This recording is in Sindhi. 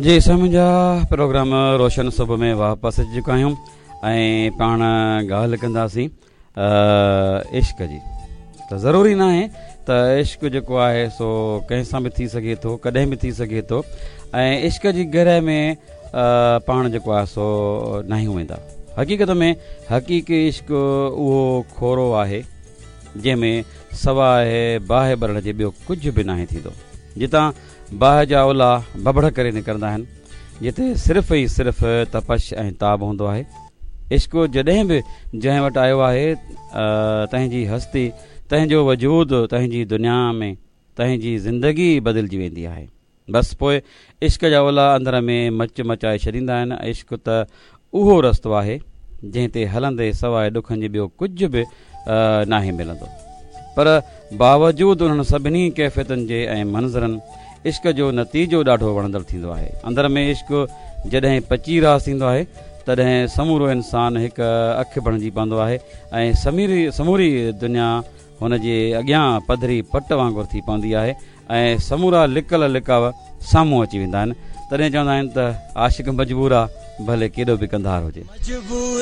جي سائين منهنجا پروگرام روشن صبح ۾ واپس اچي چڪا آهيون ۽ پاڻ ڳالهه ڪنداسين عشق جي ته ضروري ناهي ته عشق جيڪو آهي سو ڪنهن سان به ٿي سگهي ٿو ڪڏهن به ٿي سگهي ٿو ۽ عشق جي گرهه ۾ پاڻ جيڪو آهي سو ناهيون ويندا حقيقت ۾ حقيقي عشق اهو کورو آهي جنهن ۾ سواء باهه ٻرڻ جي ٻيو ڪجهه به ناهي ٿيندو جتان باهه جا الا ڀڀڙ ڪري نڪرندا آهن، جتي صرف ئي صرف تپش ۽ تاب هوندو آهي. عشق جڏهن به جنهن وٽ آيو آهي، تنهن جي هستي، تنهن جو وجود، تنهن جي دنيا ۾ تنهن جي زندگي بدلجي ويندي آهي. بس پوء عشق جا الا اندر ۾ مچ مچائي ڇڏيندا آهن. عشق ته اهو رستو آهي، جنهن تي هلندي سواء ڏکن جي ٻيو ڪجهه به ناهي ملندو. پر باوجود انهن سڀني ڪيفيتن جي ۽ منظرن، عشق جو نتيجو ڏاڍو وڻندڙ ٿيندو آهي. اندر ۾ عشق جڏهن پچي راس ٿيندو آهي، تڏهن سمورو انسان هڪ اک بڻجي پوندو آهي ۽ سموري دنيا هن جي اڳيان پڌري پٽ وانگر ٿي پوندي آهي ۽ سمورا لڪل لڪاء سامهون اچي ويندا آهن. تڏهن چوندا آهن ته عاشق مجبور آ، ڀلي ڪيڏو به ڪنڌار هجي.